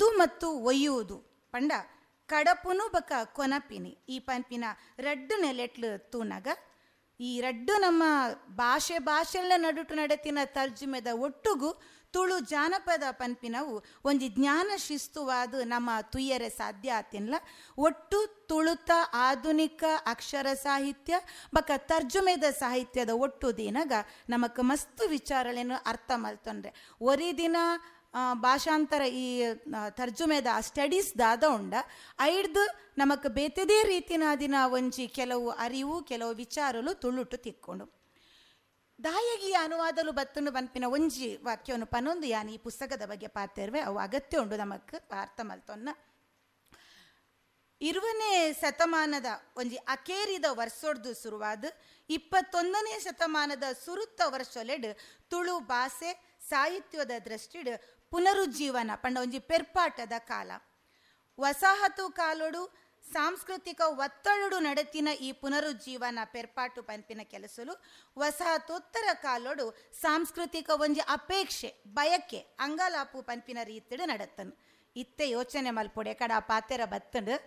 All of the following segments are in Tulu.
ಕಡಪುವುದು ಮತ್ತು ಒಯ್ಯುವುದು ಪಂಡ ಕಡಪುನು ಬಕ ಕೊನಪಿನಿ ಈ ಪನ್ಪಿನ ರಡ್ಡು ನೆಲೆಟ್ಲು ತೂನಗ ಈ ರಡ್ಡು ನಮ್ಮ ಭಾಷೆ ಭಾಷೆಲ್ಲ ನಡುಟು ನಡೆತಿನ ತರ್ಜುಮೆದ ಒಟ್ಟುಗು ತುಳು ಜಾನಪದ ಪನ್ಪಿನವು ಒಂಜಿ ಜ್ಞಾನ ಶಿಸ್ತುವಾದ ನಮ್ಮ ತುಯ್ಯರೆ ಸಾಧ್ಯ ಆತಿನ್ಲ. ಒಟ್ಟು ತುಳುತ ಆಧುನಿಕ ಅಕ್ಷರ ಸಾಹಿತ್ಯ ಬಕ ತರ್ಜುಮೆದ ಸಾಹಿತ್ಯದ ಒಟ್ಟು ದಿನಗ ನಮಕ್ ಮಸ್ತ್ ವಿಚಾರಗಳೇನು ಅರ್ಥ ಮಲ್ತೊಂಡ್ರೆ ಒರಿ ದಿನ ಭಾಷಾಂತರ ಈ ತರ್ಜುಮೆದ ಸ್ಟಡೀಸ್ ದಾದ ಉಂಡ ಐಡ್ದು ನಮಕ್ ಬೇತೆದೇ ರೀತಿನ ದಿನ ಒಂಜಿ ಕೆಲವು ಅರಿವು ಕೆಲವು ವಿಚಾರಲು ತುಳುಟು ತಿಕ್ಕೊಂಡು ದಾಯಗಿ ಅನುವಾದಲು ಬತ್ತನು ಬನ್ಪಿನ ಒಂಜಿ ವಾಕ್ಯವನ್ನು ಪನೊಂದು ಯಾನ್ ಈ ಪುಸ್ತಕದ ಬಗ್ಗೆ ಪಾತಿರ್ವೆ ಅವು ಅಗತ್ಯ ಉಂಡು ನಮಕ್ ಅರ್ಥ ಮಲ್ತೊನ್ನ. 20ನೇ ಶತಮಾನದ ಒಂಜಿ ಅಕೇರಿದ ವರ್ಷೊಡ್ದು ಶುರುವಾದ 21ನೇ ಶತಮಾನದ ಸುರುತ್ತ ವರ್ಷೊಲೆಡ್ ತುಳು ಭಾಷೆ ಸಾಹಿತ್ಯದ ದೃಷ್ಟಿಡ್ ಪುನರುಜ್ಜೀವನ ಪಂಡ ಒಂಜಿ ಪೆರ್ಪಾಟದ ಕಾಲ. ವಸಾಹತು ಕಾಲೊಡು ಸಾಂಸ್ಕೃತಿಕ ಒತ್ತಡಡು ನಡೆತಿನ ಈ ಪುನರುಜ್ಜೀವನ ಪೆರ್ಪಾಟು ಪನ್ಪಿನ ಕೆಲಸಲು ವಸಾಹತೋತ್ತರ ಕಾಲೊಡು ಸಾಂಸ್ಕೃತಿಕ ಒಂಜಿ ಅಪೇಕ್ಷೆ ಬಯಕೆ ಅಂಗಲಾಪು ಪನ್ಪಿನ ರೀತಿಡು ನಡತ್ತನು. ಇತ್ತೆ ಯೋಚನೆ ಮಲ್ಪೊಡೆ ಕಡ ಪಾತೆರ ಬತ್ತಂಡು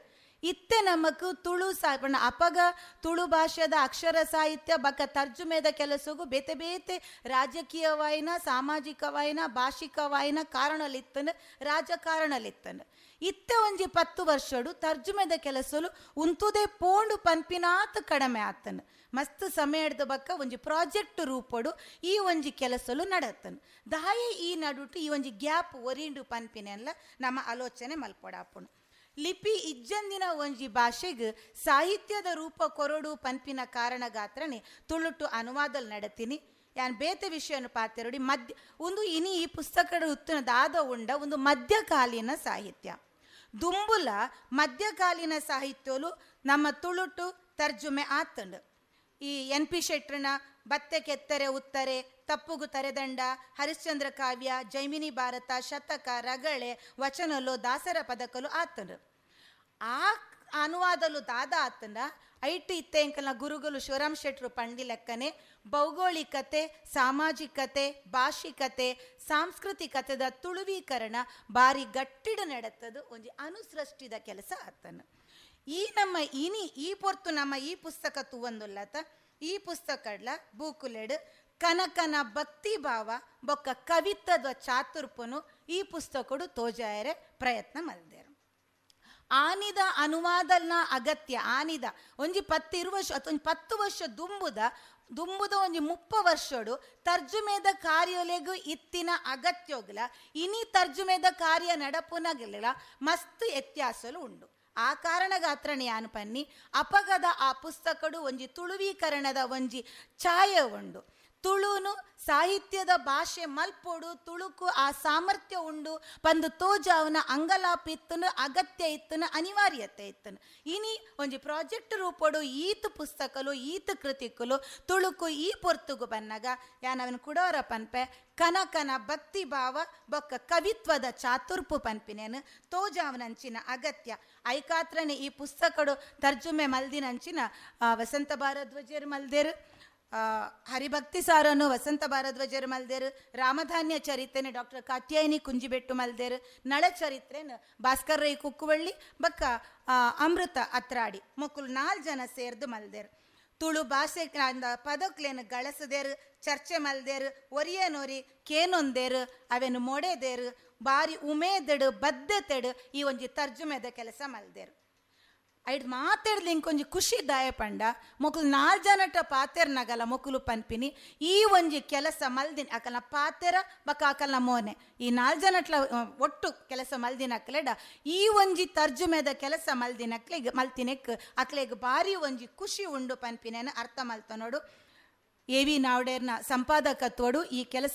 ಇತ್ತೆ ನಮಕ್ ತುಳು ಪಂಡ ಅಪಗ ತುಳು ಭಾಷೆದ ಅಕ್ಷರ ಸಾಹಿತ್ಯ ಬಕ ತರ್ಜುಮೆದ ಕೆಲಸಗೂ ಬೇತೆ ಬೇತೆ ರಾಜಕೀಯವಾಯಿನ ಸಾಮಾಜಿಕವಾಯಿನ ಭಾಷಿಕವಾಯಿನ ಕಾರಣಲಿತ್ತನು ರಾಜಕಾರಣಲಿತ್ತನು. ಇತ್ತೆ ಒಂಜಿ 10 ವರ್ಷಡು ತರ್ಜುಮೆದ ಕೆಲಸಲು ಉಂತುದೇ ಪೋಂಡು ಪನ್ಪಿನಾತ್ ಕಡಿಮೆ ಆತನು. ಮಸ್ತ್ ಸಮಯ ಹಿಡ್ದ ಬಕ್ಕ ಒಂಜಿ ಪ್ರಾಜೆಕ್ಟ್ ರೂಪಡು ಈ ಒಂಜಿ ಕೆಲಸಲು ನಡತ್ತನು. ದಾಯೆ ಈ ನಡುಟು ಈ ಒಂಜಿ ಗ್ಯಾಪ್ ಒರಿಂಡು ಪನ್ಪಿನೆಲ್ಲ ನಮ್ಮ ಆಲೋಚನೆ ಮಲ್ಪೊಡಾಪುಣು. ಲಿಪಿ ಇಜ್ಜಂದಿನ ಒಂಜಿ ಭಾಷೆಗೆ ಸಾಹಿತ್ಯದ ರೂಪ ಕೊರಡು ಪನ್ಪಿನ ಕಾರಣಗಾತ್ರನೆ ತುಳುಟು ಅನುವಾದಲ್ ನಡತೀನಿ. ಯಾನ್ ಬೇತೆ ವಿಷಯವನ್ನು ಪಾತೆರೊಡಿ ಮಧ್ಯ ಒಂದು ಇನಿ ಈ ಪುಸ್ತಕದ ಉತ್ತನದಾದ ಉಂಡ ಒಂದು ಮಧ್ಯಕಾಲೀನ ಸಾಹಿತ್ಯ ದುಂಬುಲ ಮಧ್ಯಕಾಲೀನ ಸಾಹಿತ್ಯಲು ನಮ್ಮ ತುಳುಟು ತರ್ಜುಮೆ ಆತಂಡು. ಈ ಎನ್ ಪಿ ಶೆಟ್ರನ ಬತ್ತೆ ಕೆತ್ತರೆ ಉತ್ತರೆ, ತಪ್ಪುಗು ತರೆದಂಡ, ಹರಿಶ್ಚಂದ್ರ ಕಾವ್ಯ, ಜೈಮಿನಿ ಭಾರತ, ಶತಕ, ರಗಳೆ, ವಚನಲು, ದಾಸರ ಪದಕಲು ಆತಂಡು. ಆ ಅನುವಾದಲು ದಾದ ಆತಂಡ ಐಟು ಇತ್ತೆ ಎಂಕಲ್ನ ಗುರುಗಳು ಶಿವರಾಮ್ ಶೆಟ್ರು ಪಂಡಿ ಲೆಕ್ಕನೆ ಭೌಗೋಳಿಕತೆ, ಸಾಮಾಜಿಕತೆ, ಭಾಷಿಕತೆ, ಸಾಂಸ್ಕೃತಿಕತೆದ ತುಳುವೀಕರಣ ಬಾರಿ ಗಟ್ಟಿಡ ನಡತ್ತದು ಒಂಜಿ ಅನುಸೃಷ್ಟಿದ ಕೆಲಸ ಆತನು. ಈ ನಮ್ಮ ಇನಿ ಈ ಪೊರ್ತು ನಮ್ಮ ಈ ಪುಸ್ತಕ ತೂವಂದುಲ್ಲತ ಈ ಪುಸ್ತಕಡ್ಲ ಬೂಕುಲೆಡು ಕನಕನ ಭಕ್ತಿ ಭಾವ ಬೊಕ್ಕ ಕವಿತ್ವದ ಚಾತುರ್ಪನು ಈ ಪುಸ್ತಕಡು ತೋಜಾಯರೆ ಪ್ರಯತ್ನ ಮಲ್ದೇರು. ಆನಿದ ಅನುವಾದನ ಅಗತ್ಯ ಆನಿದ ಒಂಜಿ 10 ವರ್ಷ ಅಥವಾ ಒಂಜಿ 10 ವರ್ಷ ದುಂಬುದ ಒಂಜಿ 30 ವರ್ಷಡು ತರ್ಜುಮೆದ ಕಾರ್ಯಲೆಗು ಇತ್ತಿನ ಅಗತ್ಯೋಗ್ಲ ಇನಿ ತರ್ಜುಮೆದ ಕಾರ್ಯ ನಡಪುನಗಲ ಮಸ್ತ್ ವ್ಯತ್ಯಾಸಲು ಉಂಡು. ಆ ಕಾರಣಗಾತ್ರನೆ ಯಾನು ಪನ್ನಿ ಅಪಗದ ಆ ಪುಸ್ತಕಡು ಒಂಜಿ ತುಳುವೀಕರಣದ ಒಂಜಿ ಛಾಯೆ ಉಂಡು. ತುಳುನು ಸಾಹಿತ್ಯದ ಭಾಷೆ ಮಲ್ಪೊಡು, ತುಳುಕು ಆ ಸಾಮರ್ಥ್ಯ ಉಂಡು ಪಂದು ತೋಜಾವನ ಅಂಗಲಾಪಿತ್ತನು ಅಗತ್ಯ ಇತ್ತನು ಅನಿವಾರ್ಯತೆ ಇತ್ತನು. ಇನಿ ಒಂಜಿ ಪ್ರಾಜೆಕ್ಟ್ ರೂಪಡು ಈತ ಪುಸ್ತಕಲು ಈತ ಕೃತಿಕಲು ತುಳುಕು ಈ ಪೊರ್ತುಗು ಬನ್ನಗ ಯಾನವನ ಕುಡೋರ ಪನ್ಪೆ ಕನಕನ ಭಕ್ತಿ ಭಾವ ಬೊಕ್ಕ ಕವಿತ್ವದ ಚಾತುರ್ಪು ಪನ್ಪಿನೇನು ತೋಜಾವನಂಚಿನ ಅಗತ್ಯ. ಐಕಾತ್ರನೆ ಈ ಪುಸ್ತಕಡು ತರ್ಜುಮೆ ಮಲ್ದಿನಂಚಿನ ವಸಂತ ಭಾರದ್ವಾಜರು ಮಲ್ದೇರು, ಹರಿಭಕ್ತಿ ಸಾರನು ವಸಂತ ಭಾರದ್ವಾಜರು ಮಲ್ದೇರು, ರಾಮಧಾನ್ಯ ಚರಿತ್ರೆನ ಡಾಕ್ಟರ್ ಕಾತ್ಯಾಯಿನಿ ಕುಂಜಿಬೆಟ್ಟು ಮಲ್ದೇರು, ನಳ ಚರಿತ್ರೆನ ಭಾಸ್ಕರ್ ರೈ ಕುಕ್ಕುವಳ್ಳಿ ಬಕ್ಕ ಅಮೃತ ಅತ್ರಾಡಿ ಮೊಕ್ಕಲು 4 ಜನ ಸೇರ್ದು ಮಲ್ದೇರು. ತುಳು ಭಾಷೆ ಪದಕ್ಲೇನು ಗಳಸದೇರು, ಚರ್ಚೆ ಮಲ್ದೇರು, ಒರಿಯನೊರಿ ಕೇನೊಂದೇರು, ಅವೇನು ಮೊಡೆದೇರು, ಬಾರಿ ಉಮೇದೆಡು ಬದ್ಧತೆಡು ಈ ಒಂಜಿ ತರ್ಜುಮೆದ ಕೆಲಸ ಮಲ್ದೇರು. ಐಡ್ ಮಾತಾಡ್ದು ಇಂಕೊಂಜಿ ಖುಷಿ ದಾಯ ಪಂಡ ಮೊಕಲು 4 ಜನಟ ಪಾತೆರ್ನಗಲ ಮೊಕಲು ಪನ್ಪಿನಿ ಈ ಒಂಜಿ ಕೆಲಸ ಮಲ್ದಿನ ಅಕಲ್ನ ಪಾತೆರ ಬಕ ಅಕಲ್ನ ಮೋನೆ ಈ 4 ಜನಟ್ಲ ಒಟ್ಟು ಕೆಲಸ ಮಲ್ದಿನ ಅಕ್ಲೆಡ ಈ ಒಂಜಿ ತರ್ಜುಮೆದ ಕೆಲಸ ಮಲ್ದಿನ ಅಕ್ಲೆಗ್ ಮಲ್ತಿನೆಕ್ ಅಕ್ಲೆಗ್ ಬಾರಿ ಒಂಜಿ ಖುಷಿ ಉಂಡು ಪನ್ಪಿನೇನ ಅರ್ಥ ಮಲ್ತ ನೋಡು. ಎ ವಿ ನಾವ್ಡೇರ್ನ ಸಂಪಾದಕತ್ವಡು ಈ ಕೆಲಸ